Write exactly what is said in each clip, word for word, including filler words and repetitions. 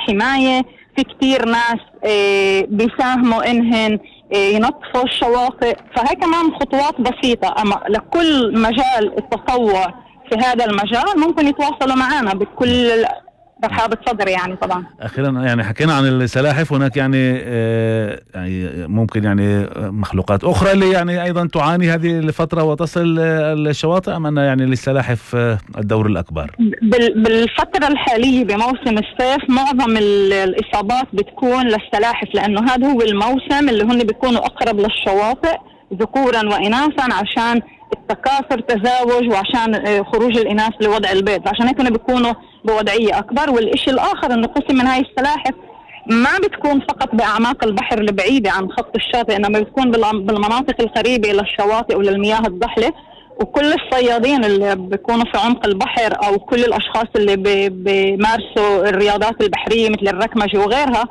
حماية. في كتير ناس بيساهموا إنهن ينظفوا الشواطئ، فهي كمان خطوات بسيطة. أما لكل مجال التطوع في هذا المجال ممكن يتواصلوا معنا بكل رحابة صدر. يعني طبعا أخيرا يعني حكينا عن السلاحف، هناك يعني آه يعني ممكن يعني مخلوقات أخرى اللي يعني أيضا تعاني هذه الفترة وتصل الشواطئ، أم أن يعني للسلاحف الدور الأكبر؟ بالفترة الحالية بموسم الصيف معظم الإصابات بتكون للسلاحف، لأنه هذا هو الموسم اللي هن بيكونوا أقرب للشواطئ ذكورا وإناثا عشان التكاثر تزاوج وعشان خروج الإناث لوضع البيض، عشان هيك بيكونوا بوضعية أكبر. والإشي الآخر إنه قسم من هاي السلاحف ما بتكون فقط بأعماق البحر البعيدة عن خط الشاطئ، إنما بتكون بالمناطق القريبة إلى الشواطئ وللمياه الضحلة. وكل الصيادين اللي بيكونوا في عمق البحر أو كل الأشخاص اللي بيمارسوا الرياضات البحرية مثل الركمجة وغيرها،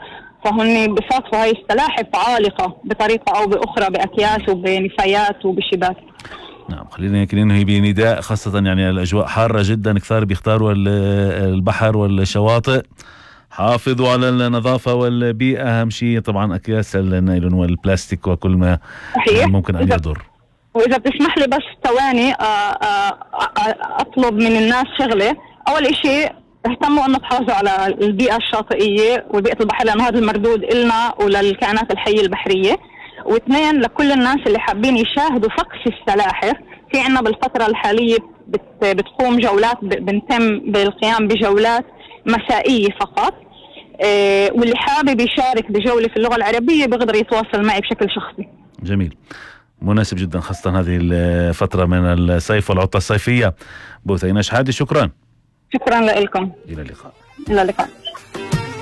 فهن بصادفوا هاي السلاحف عالقة بطريقة أو بأخرى بأكياس وبنفايات وبشباك. نعم، خلينا يمكن ننهي بنداء، خاصة يعني الأجواء حارة جدا، كثار بيختاروا البحر والشواطئ. حافظوا على النظافة والبيئة، أهم شيء طبعا أكياس النايلون والبلاستيك وكل ما صحيح. ممكن أن يضر. وإذا بتسمح لي بس ثواني أطلب من الناس شغلة. أول إشي اهتموا أن تحافظوا على البيئة الشاطئية وبيئة البحر، لأنه هذا المردود إلنا وللكائنات الحية البحرية. واثنين، لكل الناس اللي حابين يشاهدوا فقس السلاحف، في عنا بالفترة الحالية بتقوم جولات، بنتم بالقيام بجولات مسائية فقط. اه واللي حابب يشارك بجولة في اللغة العربية بيقدر يتواصل معي بشكل شخصي. جميل، مناسب جدا، خاصة هذه الفترة من الصيف والعطلة الصيفية. بوثينة شحادة، شكرا. شكرا لكم. إلى اللقاء. إلى اللقاء.